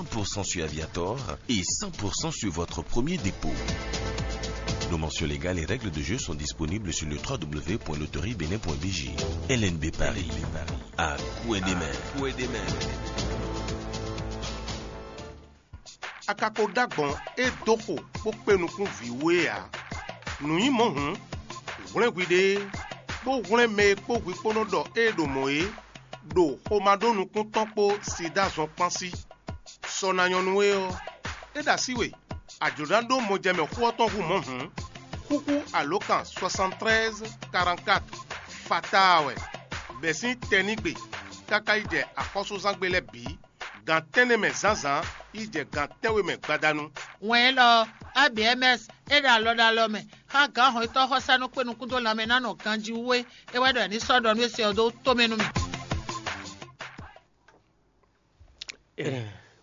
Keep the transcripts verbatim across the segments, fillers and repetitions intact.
pour cent sur Aviator et cent pour cent sur votre premier dépôt. Nos mentions légales et règles de jeu sont disponibles sur le trois w w w point loterie bénin point b j. L N B Paris, à coups et des mains. A ka ko ɖó agbɔ̌n e dó xo bó kpé nukún vǐ wú é ǎ. Nǔ nyí mɔ̌ hǔn, hwlɛ́n hwiɖée, bó hwlɛ́n mɛ e kpó hwi kpó nɔ ɖɔ ée ɖo mɔ̌ é, ɖo xomá ɖó nukún tɔn kpó sida zɔn kpán sí. Sɔ ná nyɔ́ nú we ɔ́, é ɖo así we, a jlǒ ná ɖó mɔjɛmɛ xó ɔ́ tɔn hú mɔ̌ hǔn, xúxú alǒkan soixante-treize quarante-quatre fataa wɛ, bɛ̌ sín tɛnígbe káká yi jɛ axɔ́súzángbe lɛ́ɛ bǐ, gan tɛ́nnɛ mɛ zǎnzǎn yi jɛ gan tɛ́nwe mɛ gbadanu. Wɛn élɔ́ ɔ́, A B M S é ɖo alɔ ɖo alɔ mɛ xá gǎn hɔnnyitɔ́ xɔsánú kpé nukún dó lanmɛ ná nɔ ganjí wú é. É wɛ ɖɔ è ní sɔ́ ɖɔ nú é se ɔ́ dó tomɛ nú mì.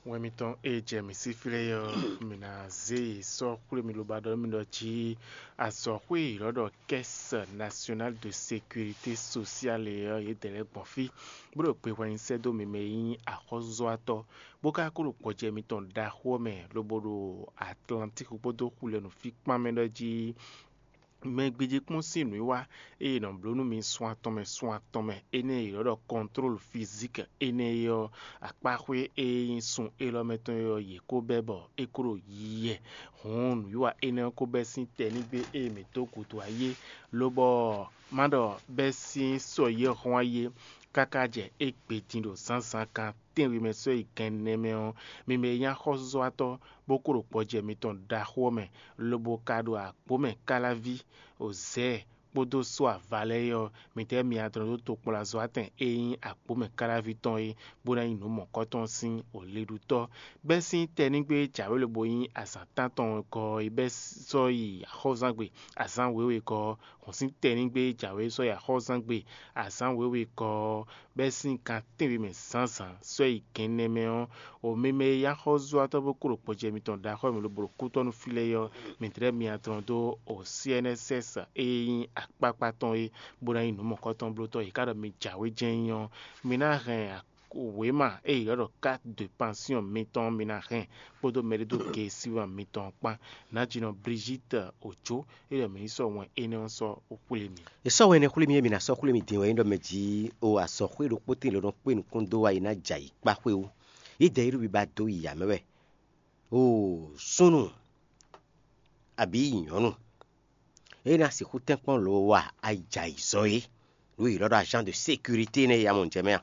Wɛn mitɔn e jɛ mǐ sí flé ɔ́, mǐ ná zé yi sɔ́ xwlé mi loba ɖɔ mi ɖɔ jí azɔ̌xwé e yě nɔ ɖɔ Caisse Nationale de Sécurité Sociale é ɔ́, yědɛɛ lɛ́ɛ gbɔn fí, bó ɖo gbe hwɛ nyi sɛ́ dó mi mɛ e nyí axɔ́zɔ́watɔ́, bó ka kó ɖo gbɔjɛ mitɔn ɖaxó ɔ́ mɛ, lobo ɖo Atlantík kpódó xu lɛ́ɛ nǔ fí kpán mɛ ɖɔ jí mɛ gbéjé kpɔ́n sín nǔwiwa e è nɔ bló nú mi sun atɔn mɛ sun atɔn mɛ énɛ́ e è nɔ ɖɔ kɔntlólu fizík énɛ́ é ɔ́, akpáxwé e nyí sun élɔ́ mɛ tɔn é ɔ́, yě kó bɛ́ bɔ é kó ɖo yiyi wɛ. Hǔn nǔwiwa énɛ́ ɔ́ kó bɛ́ sín tɛnígbe e mǐ dó gǔdo ayé, lobɔ má ɖɔ bɛ́ sín sɔ yi e hɔn ayé káká jɛ égbé din ɖo zǎnzǎn kan tɛ́nwe mɛ sɔ́ yi gɛnnɛ mɛ ɔ́, mi mɛ e nyí axɔ́súzɔ́watɔ́ bó kó ɖo gbɔjɛ mitɔn ɖaxó ɔ́ mɛ, lobo ka ɖo agbǒ mɛ káláví, Ozɛ́ɛ kpódó só ava lɛ́ɛ é ɔ́, midɛɛ mi adɔn ɖó tokpɔnlazɔ́watɛn e nyí agbǒ mɛ káláví tɔn é, bó ná nyí nǔ mɔ̌kɔtɔn sín wǒlíɖútɔ́. Bɛ́ sín tɛnígbe e jǎwe lobo nyí azǎn tántɔn gɔ́ ɔ́, é bɛ́ sɔ́ yi axɔ́zangbe azǎn wěwe gɔ́ ɔ́, hɔn sín tɛnígbe e jǎwe sɔ́ yi axɔ́zangbe azǎn wěwe gɔ́ ɔ́, bɛ́ sín gan tɛ́nwe mɛ zǎnzǎn sɔ́ yi gɛnnɛ mɛ ɔ́, o mi mɛ e nyí axɔ́zúwatɔ́ bó kó ɖo gbɔjɛ mitɔn ɖo axɔ́ mǐ lobo ɖo kútɔ́ nú fí lɛ́ɛ é ɔ́, mǐ tlɛ́ myɔ adrɔn dó o C N S S e nyí akpákpá tɔn é, bó ná nyí nǔ mɔ̌kɔtɔn blótɔ́. Yě ká ɖɔ mi jǎwe jɛ́n nyí ɔ́, mi ná hɛn wěma e yě ylɔ́ ɖɔ carte de pension mitɔn ɔ́, mi ná hɛn kpódó mɛɖédógeesíwán mitɔn ɔ́ kpán. Nǎjínɔ Brigitte Ojo, é ɖɔ mǐ ní sɔ́ wɛn énɛ́ ɔ́ sɔ́ xwlé mi. È sɔ́ wɛn énɛ́ xwlé mì e mǐ ná sɔ́ xwlé mì din wɛ é ɖɔ mɛ jí o azɔ̌xwé ɖokpó tíin lě nɔ kpé nukún dó wá yi ná jɛ ayǐ kpá xwé wú. Yědɛɛ yi ɖo biba dó yi ǎ mɛ wɛ. O súnnu abǐ nyɔ̌nu é ná sixú tɛ́nkpɔ́n lǒ wa ayijɛ ayǐzɔ́ é, ɖó yě ɖɔ ɖɔ agent de sécurité nɛ́ yě amɔ jɛ mɛ a?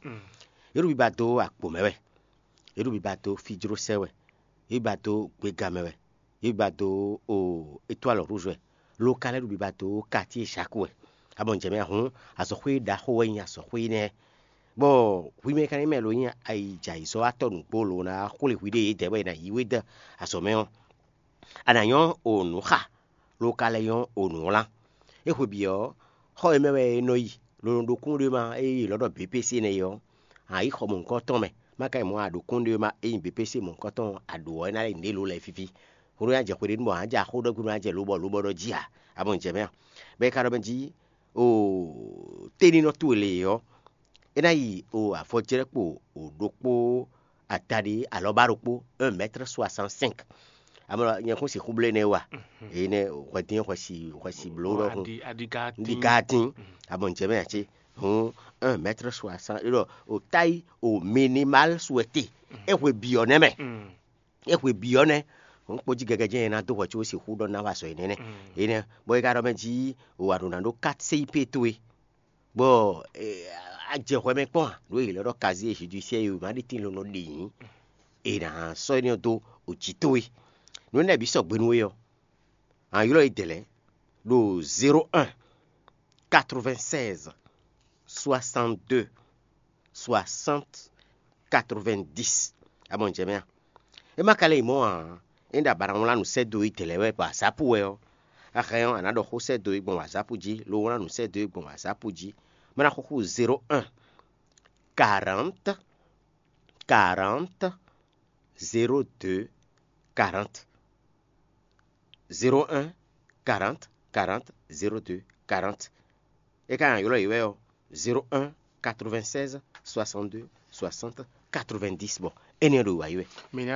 Yě ɖo biba dó akpo mɛ wɛ. Yě ɖo biba dó fíjlósɛ́ wɛ. Yě biba dó gbéga mɛ wɛ. Yě biba dó o étoile rouge wɛ. Lo ka lɛ́ ɖo biba dó quartier Jacques wɛ. Amɔ jɛ mɛ a hǔn, azɔ̌xwé ɖaxó wɛ nyí azɔ̌xwé nɛ́. Bɔ hwi mɛ ka nyí mɛ lo nyí ayijɛ ayǐzɔ́watɔ́ nǔgbó lo ná xwlé hwi ɖé yědɛɛ wɛ è nǎ yí we dó azɔ̌ mɛ ɔ́, a nǎ nyɔ́ o nǔ xa, lo ka lɛ́ nyɔ́ o nǔ wlán. É hwe bǐ ɔ́, xɔ e mɛ wɛ è nɔ yi, lo nɔ ɖo kúnɖéma e è lɔ̌ ɖɔ B P C nɛ́ é ɔ́, a nǎ yi xɔ mɔ̌hunkɔtɔn mɛ. Má ka yi mɔ̌ a ɖo kúnɖéma e nyí B P C mɔ̌hunkɔtɔn a ɖǒ ɔ́, é ná lɛ́ yi nǔɖé lǒ lɛ́ɛ fífí. Hwenu e a jɛ xwe ɖé nu bɔ a nǎ jɛ axó ɖɔ gbe bɔ a nǎ jɛ lobɔ lobɔ ɖɔ jí ǎ. A mɔ jɛ mɛ a? Bɔ é ka ɖɔ mɛ jí o téninɔ towe lě ɔ́, é ná yi o avɔjlɛ́kpo o ɖokpó adaɖé alɔbá ɖokpó, un mètre soixante cinq. Amɔ nyɛ kún sixú bló énɛ́ wa. Énɛ́ hwɛdín hwɛsi hwɛsi bló ɖɔhun. Aɖi aɖi ga Ndi tín. Gatin. Amɔ njɛ mɛ ati. Hun, un mètre soixante, ɖɔ o taille o minimal souhaité. É hwe biɔ nɛ mɛ. É hwe biɔ nɛ. Hun kpodzi gɛgɛ jɛ ná dó hwɛ tso sixú ɖɔ ná wa sɔ énɛ́ nɛ. Énɛ́ bɔ é ka ɖɔ mɛ jí o wa ɖo ná ɖó quatre C I P towe. Bɔ a jɛ hwɛ mɛ kpɔ́n a? Ɖó yě lɛ́ ɖɔ casier judiciaire e má ɖi tín lɔ nɔ ɖe nyǐ, è nǎ sɔ́ énɛ́ ɔ́ dó o jǐ towe. Nǔ énɛ́ bǐ sɔgbe nú we ɔ́, a ylɔ́ yě dɛ̌ lɛ́ɛ ɖo zéro un quatre-vingt-seize soixante-deux soixante quatre-vingt-dix. A mɔ jɛ mɛ a? É ma ka lɛ́ nyí mɔ̌ ǎ. É ɖo abǎ ná wlán nǔ sɛ́ dó yí dɛ̌ lɛ́ɛ wɛ gbɔn azápu wɛ ɔ́, a hɛn ɔ́, a nǎ ɖɔ xó sɛ́ dó yí gbɔn azápu jí, lo wlán nǔ sɛ́ dó yí gbɔn azápu jí. Má ná xúxú zéro un quarante quarante zéro deux quarante. Zéro un quarante quarante zéro deux quarante. É ka nyi ylɔ́ yě wɛ ɔ́, zéro un quatre-vingt-seize soixante-deux soixante quatre-vingt-dix. Bɔ énɛ́ ɖo wǎ yi wɛ. Mǐ ná